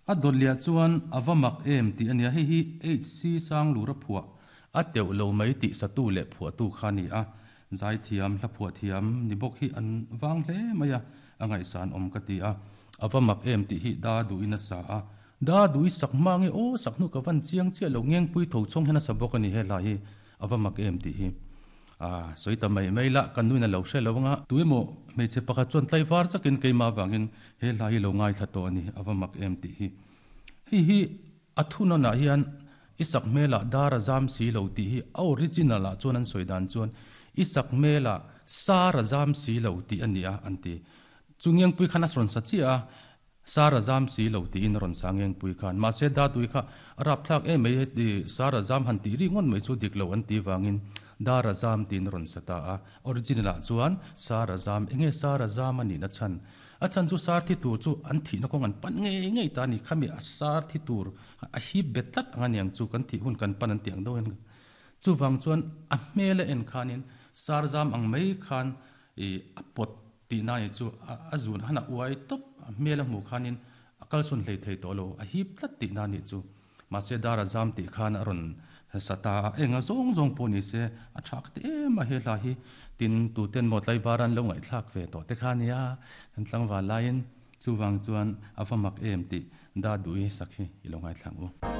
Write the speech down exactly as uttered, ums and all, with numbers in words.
A dawt liah chuan a va mak em tih a nia, hei hi H C Sanglura phuah a teuh lo mai tih satu leh phuahtu kha a ni a, zaithiam hla phuah thiam ni bawk hi an vang hle mai a, a ngaihsan awm ka ti a, a va mak em tih hi da duhin a sa a, da duhi sak hma nge aw sak hnu ka van chiang chiah lo ngengpui tho chhawng hian a sa bawk a ni he hla hi a va mak em tih hi. A sawi ta mai mai la, kan nuin a lo hre lo anga, tu emaw hmeichhe pakhat chuan tlaivar chakin keimah avangin he hla hi lo ngaithla tawh a ni, a va mak em tih hi. Hei hi a thunawnah hian i sak hmelah dar a zam si lo tih hi a original ah chuan an sawi dan chuan i sak hmelah sar a zam si lo tih a ni a an ti. Chu Ngengpui khan a rawn sa chiah a, sar a zam si lo tiin a rawn sa Ngengpui khan. Mahse Datui kha a rapthlak em mai heti sar a zam han tih ri ngawt mai chu dik lo an tih vangin dar a zam tiin a rawn sa ta a. Original ah chuan sar a zam, enge sar a zam a nihna chhan? A chhan chu sar thi tur chu an thihna kawng an pan ngei ngei ta a ni. Khami a sar thi tur a hip bet tlat ang a niang chu kan thih hun kan pan an tih ang deuh hian. Chuvang chuan a hmel a en khanin sar zam ang mai khan ih a pawt tihna ni chu a zun han a uai tawp, a hmel a hmuh khanin a kalsawn hlei thei tawh lo, a hip tlat tihna ni chu. Mahse dar a zam tih khan a rawn sa ta a, enga zawng zawng pawh ni se a tha ka ti em a he hla hi. Tin, tuten maw tlaivar an lo ngaihthlak ve tawh te kha nia, kan tlangval laiin chuvang chuan a va mak em tih da duh i sak hi i lo ngaithlak u.